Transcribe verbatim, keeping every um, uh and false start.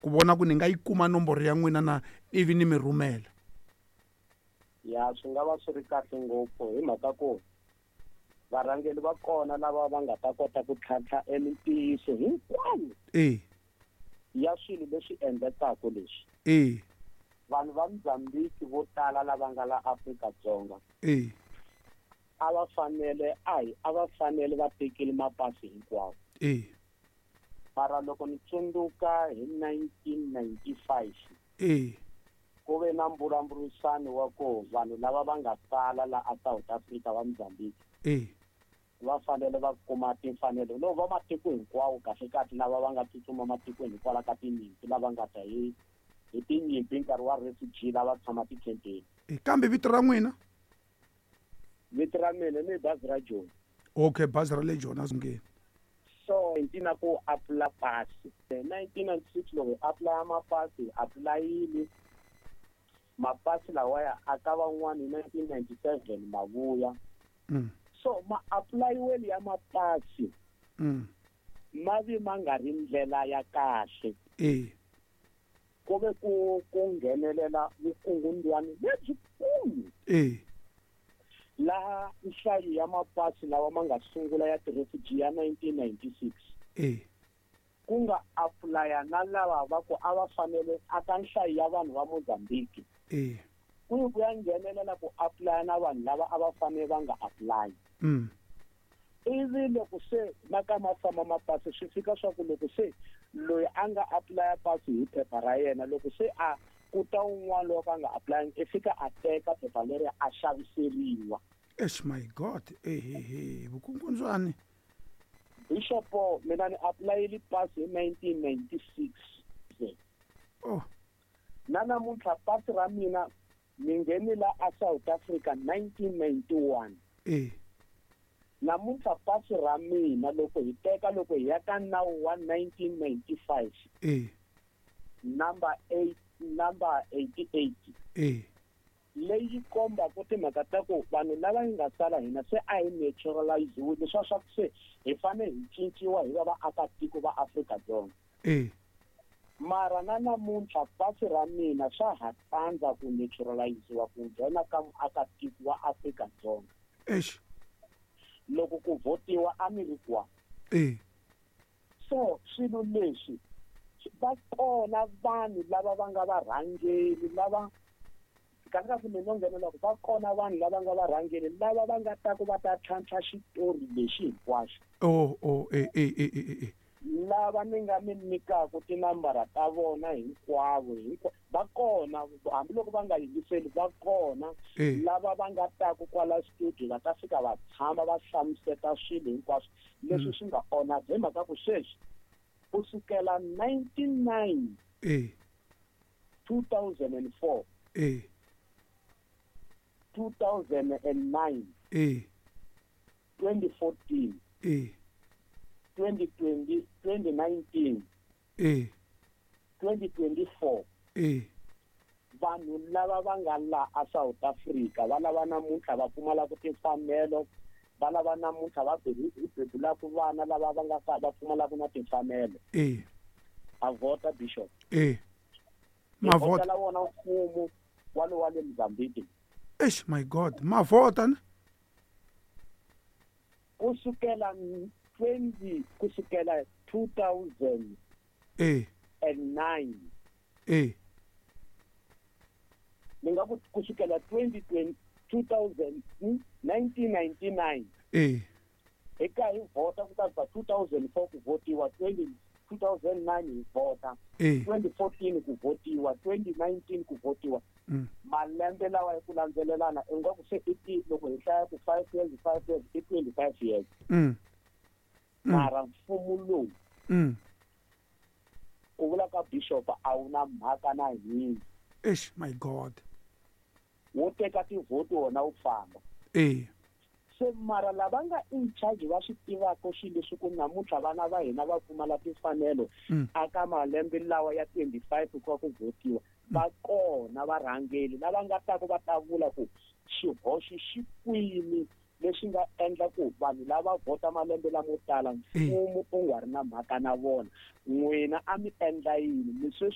Ku vona ku ni nga yi kuma nomboro ya n'wina na ivi ni mi rhumela. Ya, swi nga va swi ri kahle ngopfu hi mhaka ku varhangeri va kona lava va nga ta kota ku tlhantlha emintiyiso hinkwayo e ya swilo leswi endlekaka leswi. E vanhu va Mozambique vo tala lava nga la Afrika-Dzonga e a va fanele a hi a va fanele va tekile mapasi hinkwawo. E mara loko ni tsundzuka hi nineteen ninety-five e ku ve na mbulavurisano wa ku vanhu lava va nga tala la a South Africa va Mozambique e va fanele va kuma timfanelo no va matiko hinkwawo kahle kahle lava va nga tsutsuma matikweni hikwalaho ka tinyimpi lava nga ta hi hi tinyimpi nkarhi wa refugee lava tshama tikhempeni. E kambe vito ra n'wina? Vito ra mina ni bazi ra Joni. Okay, bazi ra le Joni a So nineteen ku apply pasi nineteen ninety-six loko hi apply mapasi hi applyile mapasi lawaya a ka van'wani hi nineteen ninety-seven ma vuya. Mm. So ma apply-weli ya mapasi mm. ma vi ma nga ri ndlela ya kahle. E ku ve ku ku nghenelela vukungundwani lebyikulu. E laha nhlayo ya mapasi lawa ma nga sungula ya ti-refugee ya nineteen ninety-six e ku nga apply-a na lava va ku a va fanele a ka nhlayo ya vanhu va Mozambique. E ku ku ya nghenelela ku apply-a na vanhu lava a va fanele va nga apply. Mm. Ivi loko se ma ka ma famba mapasi swi fika swa ku loko se loyi a nga apply-a pasi hi phepha ra yena loko se a ku ta un'wana loko a nga apply-angi i fika a teka phepha leri a xaviseriwa. Eish, my God, ehehe vukungundzwani. Bishop, mina ni apply-ile pasi hi nineteen ninety-six. Oh. Na namuntlha pasi ra mina ni ngheni la a South Africa nineteen ninety-one. E namuntlha pasi ra mina loko hi teka loko hi ya ka nawu wa nineteen ninety-five. E number eight number eighty-eight. E leyi kombaka timhaka ta ku vanhu lava yi nga sala hina se a hi naturalize-iwile leswa swa ku se hi fanele hi cinciwa hi va vaakatiko va Afrika-Dzonga. E mara na namuntlha pasi ra mina swa ha tsandza ku naturalize-iwa ku nghena ka muakatiko wa Afrika-Dzonga. Eish. Loko ku votiwa a mi ri kwa. E so swilo leswi va kona vanhu lava va nga varhangeri lava kahle kahle mina no nghenela ku va kona vanhu lava nga varhangeri lava va nga ta ku va ta tlhantlha xitori lexi hinkwaxo. Oh, oh, e e e e e lava ni nga mi nyikaka tinambara ta vona hinkwavo hinkwa va kona hambiloko va nga yingiseli va kona lava va nga ta ku kwala studio va ta fika va tshama va hlamuseta swilo hinkwaswo leswi swi nga onha hi mhaka ku sweswi ku sukela ninety-nine e two thousand and four e two thousand and nine e twenty fourteen e twenty twenty twenty nineteen e twenty twenty-four e vanhu lava va nga la a South Africa va lava namuntlha va pfumalaka timfanelo va lava namuntlha va bebulaka vana lava va nga va pfumalaka na timfanelo. E a vhota Bishop. E mavhota la wona mfumo wa lo wa le Mozambique. Eish, my God, mavhota ne kusukela twenty kusukela two thousand e and nine e ni nga ku kusukela twenty twenty two thousand nineteen ninety-nine e eka hi vhota ku ta two thousand four ku votiwa twenty two thousand nine hi vhota e twenty fourteen ku votiwa twenty nineteen ku votiwa. Mm. Malembe lawa hi ku landzelelana i nga ku se i ti loko hi hlaya ku five years five years i twenty-five years. Mm. Mara mfumo lowu mm. ku vula ka Bishop a wu na mhaka na hina. Eish, my God. Wo teka tivhoti wona wu famba. E se mara lava nga in charge va swi tivaka swilo leswi ku namuntlha vana va hina va pfumala timfanelo aka malembe lawa ya twenty-five ku va ku votiwa va kona varhangeri lava nga ta ku va ta vula ku xihoxo xi kwini leswi nga endla ku vanhu lava vhota malembe lamo tala mfumo u nga ri na mhaka na vona. N'wina a mi endla yini mi sweswi?